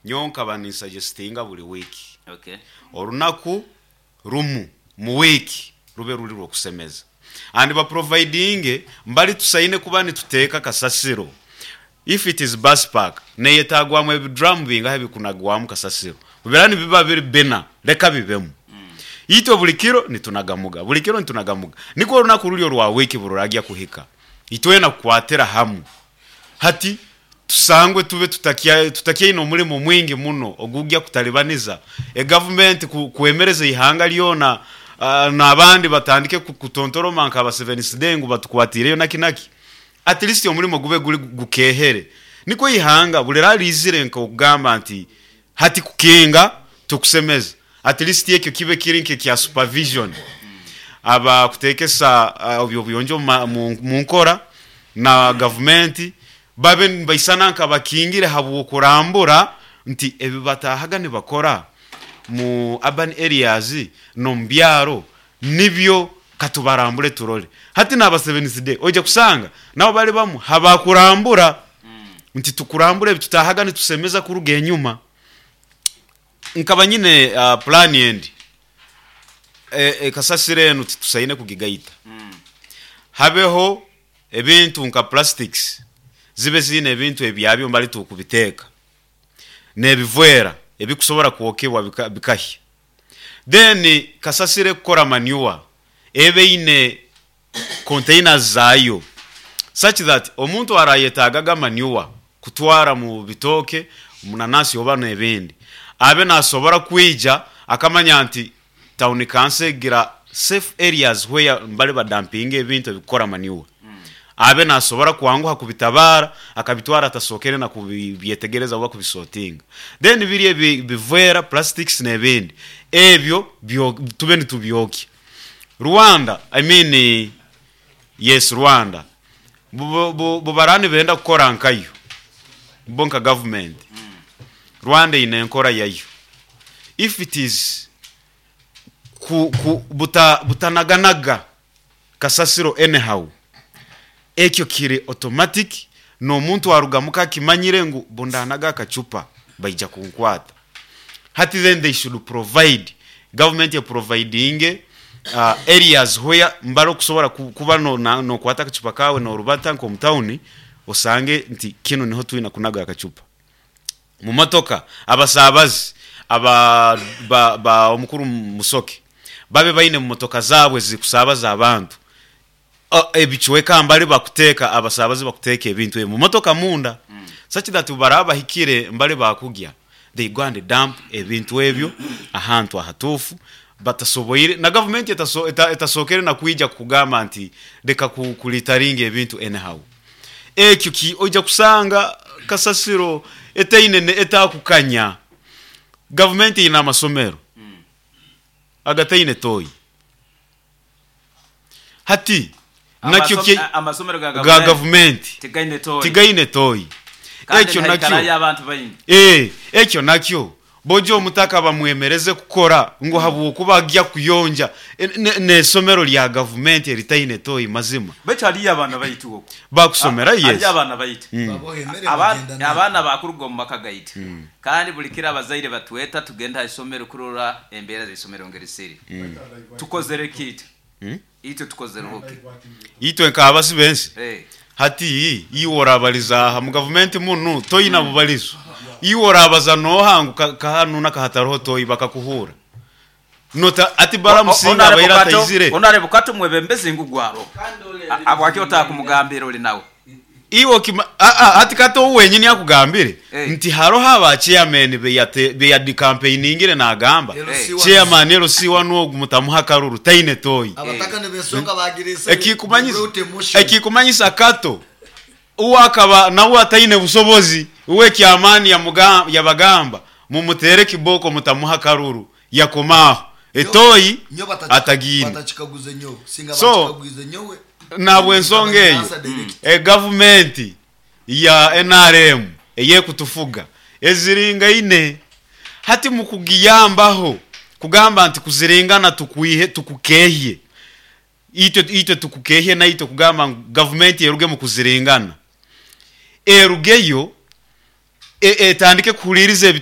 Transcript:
Nyowe nkaba ninsajestinga buri wiiki orunaku rumu mu wiiki rube ruri rw'okusemeza and baprovidinge mbari tusaine kuba nituteeka kasasiro if it is bus park neyetagwamu ebidrum bingahi ebikunagwamu kasasiro bubera nibiba biri bina reka bibemu itwe buri kiro nitunagamuga buri kiro nitunagamuga nikwo orunaku ruri orwa wiiki bururagya kuhika itwena kukwatira hamu Hati tusangwe tube tutakyaine omurimo mwingi muno ogugya kutalibaniza egavumenti kwemereza eihanga lyona n'abandi batandike kutontoroma nka ba Seventh Day ngu batukwatiireyo naki naki. At least omurimo gube guri gukeehere nikwo eihanga buri rariizire nk'okugamba nti hati kukinga tukusemeza. At least ekyo kibe kiri nk'ekya supervision aba kutekesa eby'obuyonjo mu nkora na gavumenti babe nibaisana nk'abakingire habw'okurambura nti ebi bataahaga nibakora mu urban areas n'omu byaro nibyo katubarambure turore. Hati n'aba Seventh Day oija kusanga nabo bari bamwe ha bakurambura nti tukurambure ebi tutaahaga nitusemeza kuruga enyuma. Nkaba nyine pulaani endi. Kasasiro enu titusaine kugigaita. Habeho ebintu nka plastics zibe ziine ebintu ebyabyo mbali tukubiteeka n'ebivwera ebikusobora kwokebwa bikahya. Then kasasiro ekukora manure ebe eine containers zaayo such that omuntu arayetagaga manure kutwara mu bitooke, mu nanasi oba n'ebindi abe nasobora kwija akamanya nti town council egira safe areas where mbali badampinga ebintu ebikukora manure abe nasobora kwanguha kubitabara akabitwara atasookere na kubyetegereza oba kubisortinga then biri ebivera, plastics n'ebindi ebyo tube nitubyokya. Rwanda, I mean yes Rwanda, bubaraaba nibenda kukora nkayo bo nka government, Rwanda eine enkora yayo. If it is ku ku buta butanaganaga kasasiro anyhow, ekyo kiri automatic n'omuntu aruga muka akimanyire ngu bundanaga akacupa baija kunkwata. Hati then they should provide, government eprovidinge areas where mbare okusobora kuba nokwata akacupa kaawe norubata nk'omu town osange nti kinu niho twine kunaga akacupa. Mu motoka abasaabazi aba ba omukuru Musoke babe baine mu motoka zaabo ezikusaabaza abantu Ebicweka mbali bakuteeka abasaabaze bakuteeka ebintu ebi mu motoka munda such that obu baraba bahikire mbali bakugya they go and dump ebintu ebyo ahantu ahatuufu batasoboire na gavumenti etasookere na kwija kukugamba nti leka ku litteringa ebintu anyhow. Ekyo ki oija kusanga kasasiro etaine etakukanya. Gavumenti eine amasomero agataine toyi. Hati nakyo kye Amasomero ga ga gavumenti gavumenti tigaine toyi tigaine toyi. kandi Ekyo nakyo nihaikarayo abantu baingi. ee ekyo nakyo bojo omutaka bamwemereze kukora ngu habwokuba agya kuyonja n'esomero lya gavumenti eritaine toyi mazima. Baitu hariyo abaana baitu okwo. Bakusomera Hariyo yes. abaana baitu. Baboha emere bagyenda nayo. Abaana bakuruga omu maka gaitu kandi buri kiro abazaire batweta tugende aha isomero kurora embeera z'eisomero ngeri ziri. Tukozere ki itwe? Itwe tukozereho ki? Itwe nk'abasi b'ensi Eh. hati iwe orabariza aha mu gavumenti munu toine bubarizo. Iwe orabaza n'oha ngu ka hanu n'aka hatariho toyi bakakuhuura. Nota ati Balamu singa abaire ataizire. Honourable Kato omwebembezi ngu gwaro. Habwaki otakumugambira ori nawe? Iwe okima aa hati Kato ou wenyini akugambire Eh. nti haroho aba chairman beyate beyadikampeiningire nagamba LC one. chairman LC one ogu mutamuha akaruru taine toyi. Abataka nibesonga bagira Ekikumanyisa brought a motion. ekikumanyisa Kato uwe akaba nawe ataine busobozi uwe ekyamaani yamuga yabagamba mumuteere kibooko mutamuha akaruru yakoma aho etoyi Nyowe bataki- atagiine. batakikaguze nyowe singa So, bakikaguize nyowe Nahabw'ensonga eyo, Answer direct. egavumenti ya nrm ey'ekutufuga eziringaine hati mukugiyambaho kugamba nti kuziringana tukwihe tukukehye itwe itwe tukukehye naitwe kugamba ngu gavumenti eruge mu kuziringana erugeyo etandike kuhuriiriza ebite.